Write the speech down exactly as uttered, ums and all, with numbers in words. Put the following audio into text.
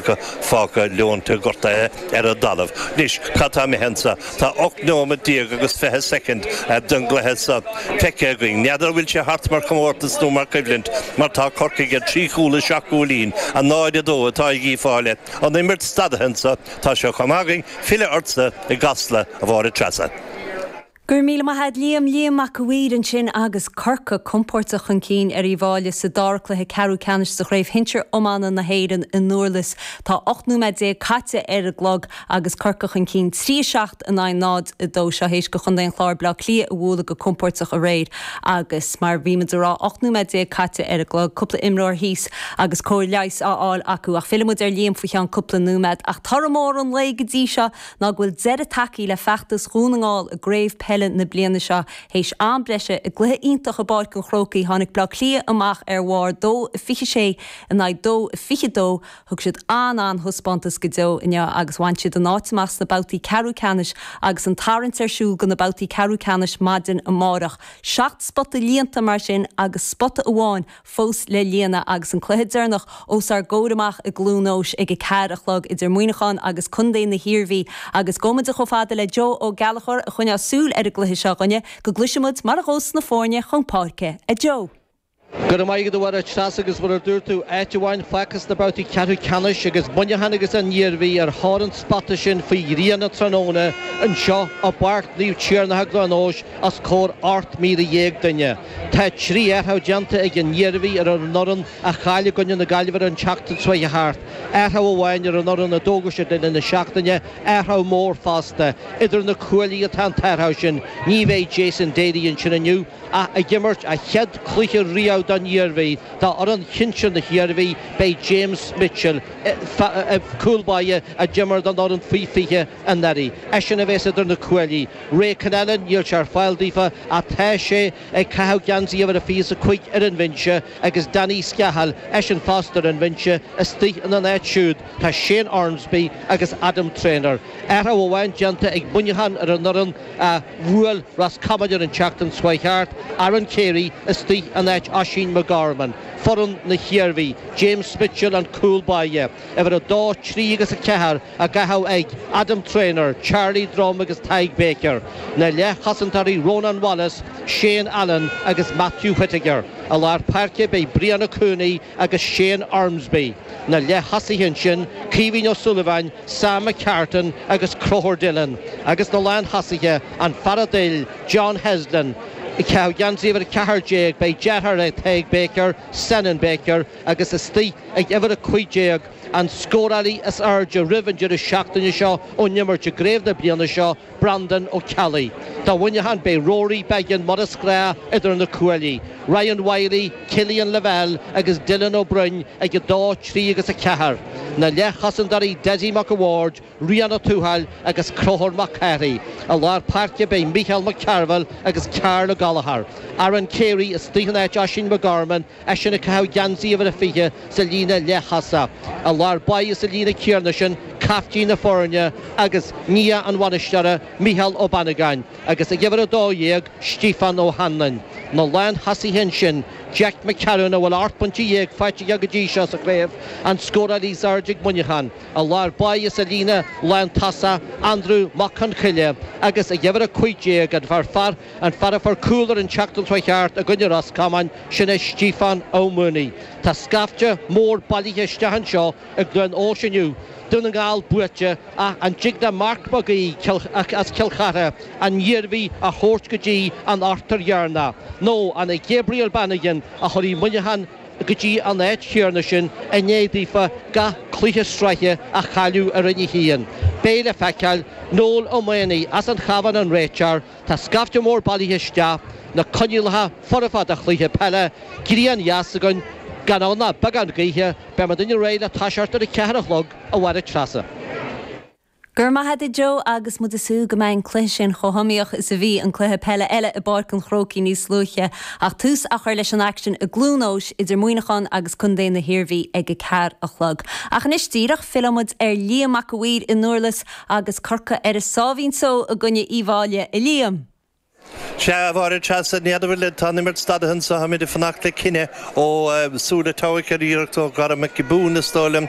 acu fágtha leonta gortaithe ar an dtalamh. Anois cad tá imithe anso? Tá ocht nóiméad déag agus fiche soicind den gcluiche seo feicthe againn. N'fheadar an bhfuil sé thart mar chomórtas nó mar choimhlint mar tá Corcaigh ar trí chúl is seacht gcúilín, a náid a dó atá ag Uíbh Fhailí. An imirt stadaithe anso, tá sé chomh maith againn filleadh ortsa i gCasla, a Mháire Treasa. Go raibh míle maith agat Liam Liam Mac a' Mhaoir ansin agus Corcaigh compordach chun cinn ar Uíbh Fhailí sa dara cluiche ceathrú ceannais sa chraobh shinsir iomána na hÉireann i nDurlas. Tá ocht nóiméad déag caite ar an gclog agus Corcaigh chun cinn trí a seacht in aghaidh náid a dó seo théis do Chontae an Chláir Bleá Cliath a bhualadh go compordach aréir agus mar bhí muid ag rá ocht nóiméad déag caite ar an gclog, cúpla imreoir thíos agus cóir leighis á fháil acu ach fillfidh muid ar Liam faoi cheann cúpla nóiméad ach toradh mór an lae go dtí seo ná go bhfuil deireadh tagtha le feachtas Dhún na nGall i gcraobh peile na bliana seo théis am breise i gcluiche iontach i bPáirc an Chrócaigh tháinig Bleá Cliath amach ar bharr dó fiche sé in aghaidh dó fiche dó thug siad an-an-thaispeántas go deo inniu agus bhain siad an áit amach sna babhtaí ceathrú ceannais agus an tarraingt ar siúl do na babhtaí ceathrú ceannais maidin amárach. Seacht spota líonta mar sin agus spota amháin fós le líonadh agus an cluiche deireanach os ár gcomhair amach i gCluain Eois ag a ceathair a chlog idir Muineachán agus Contae na hIarmhí agus gabhfaidh muid chomh fada le Joe Ó Gallchóir a choinneoidh súil ar an gcluiche seo againne go gcloisfidh muid mar a ghabhas na foirne chun páirce a Joe. Go raibh maith agat a Mháire Treasa agus mar a dúirt tú áit amháin fágtha sna babhtaí ceathrú ceannais agus Muineachán agus an Iarmhí ar thóir an spota sin faoi ghrian an tráthnóna anseo i bPáirc Naomh Tiarnach i gCluain Eois os comhair ocht míle dhéag duine. Tá trí athrú déanta ag an Iarmhí ar an fhoireann a chaill i gcoinne na Gaillimhe ar an tseachtain seo thart. Athrú amháin ar an fhoireann a d'fhógair siad le linn na seachtaine, athrú mór fosta. Idir na cuaillí atá an t-athrú sin. Ní bheidh Jason Daly ansin inniu ach ag imirt a chéad chluiche riamh don Iarmhí. Dá fhoireann shinsir na hIarmhí beidh James Mitchell, cúl báire a d'imir don fhoireann faoi fiche anuraidh. Eisean a bheas idir na cuaillí. Ray Connellan, níl sé ar fáil daofa ach tá sé ag caitheamh geansaí uimhir a fiche is a cúig ar an bhinse agus Danny Scahill, eisean fosta ar an bhinse, istigh ina n-áit siúd tá Shane Ormsby agus Adam Traynor. Athrú amháin déanta ag Muineachán ar an fhoireann a bhuail Ros Comáin ar an tseachtain seo thart, Aaron Carey istigh in áit Oisín McGorman. Foireann na hIarmhí, James Mitchell an cúl báire, uimhir a dó, trí agus a ceathair á gcaitheamh ag Adam Traynor, Charlie Drum agus Tadhg Baker. Na leathchosantóirí Ronan Wallace, Shane Allen agus Matthew Whittaker. I lár páirce beidh Brianna Cooney agus Shane Ormsby. Na leath-thosaithe ansin, Caoimhín Ó Súilleabháin, Sam McCartan agus Conchúr Dillon. Agus na lánthosaithe, an fear a d'fhill, John Heslin. Ag caitheamh geansaí uimhir a ceathair déag beidh deartháir ag Tadhg Baker, Senan Baker, agus istigh ag uimhir a cúig déag, an scórálaí is airde roimh an deireadh seachtaine seo ón imirt i gcraobh na bliana seo, Breandán Ó Ceallaigh. Do Mhuineachán beidh Rory Beggan mar is gnáth idir na cuaillí, Ryan Wylie, Cillian Lavelle agus Dylan Ó Broin ag a dó, trí agus a ceathair. Na leathchosantóirí Dessie Mac a' Bhaird, Rian Ó Tuathail agus Conchúr Mac Cárthaigh. I lár páirce beidh Micheál Mac Cearbhaill agus Karl Ó Gallchóir. Aaron Carey istigh in áit Oisín McGorman, eisean ag caitheamh geansaí uimhir a fiche sa líne leath-thosach. I lár báire sa líne chéanna sin, caiftín na foirne agus nia an bhainisteora, Micheál Ó Bannagáin, agus ag uimhir a dó dhéag, Stiofán Ó hAnluain. Na lánthosaithe ansin, Jack McCarron, a bhfuil ocht bpointe dhéag faighte aige go dtí seo sa chraobh, an scórálaí is airde ag Muineachán. I lár báire sa líne lántosach, Andrew Mac Con Choille, agus ag uimhir a cúig déag, an fear an fear a fuair cúl ar an tseachtain seo thart i gcoinne Ros Comáin, sin é Stiofán Ó Maonaigh. Tá scaifte mór bailithe isteach anseo i gCluain Eois inniu. Dún na nGall buaite, ach an dtig le Mark Mag Aoidh as Cill Chartha an Iarmhí a thabhairt go dtí an ochtar dheireanach? Nó an é Gabriel Bannigan a chuirfidh Muineachán go dtí an áit chéanna sin i ndiaidh daofa gach cluiche sraithe a chailleadh i Roinn a hAon? Beidh le feiceáil. Noel Ó Maonaigh as an Chabhán an réiteoir. Tá scaifte mór bailithe isteach, na coinníollacha foirfe do chluiche peile, grian dheas againn, gan ann ach beagán gaoithe, beidh muidinne réidh le toiseacht ar a ceathair a chlog, a Mháire Treasa. Go raibh maith agat a Joe agus muid ag súil go mbeidh an cluiche sin chomh hiomaíoch is a bhí an cluiche peile eile i bPáirc an Chrócaigh níos luaithe ach tús á chur leis an aicsean i gCluain Eois idir Muineachán agus Contae na hIarmhí ag a ceathair a chlog. Ach anois díreach, fillfidh muid ar Liam Mac a' Mhaoir i nDurlas agus Corcaigh ar a sáimhín só i gcoinne Uíbh Fhailí. A Liam! Sea bhar se ní tá imirt stadtha anseo táimid ag fanacht le cinneadh ó súla toic ar iarracht ó Dara McGibún is dóigh liom.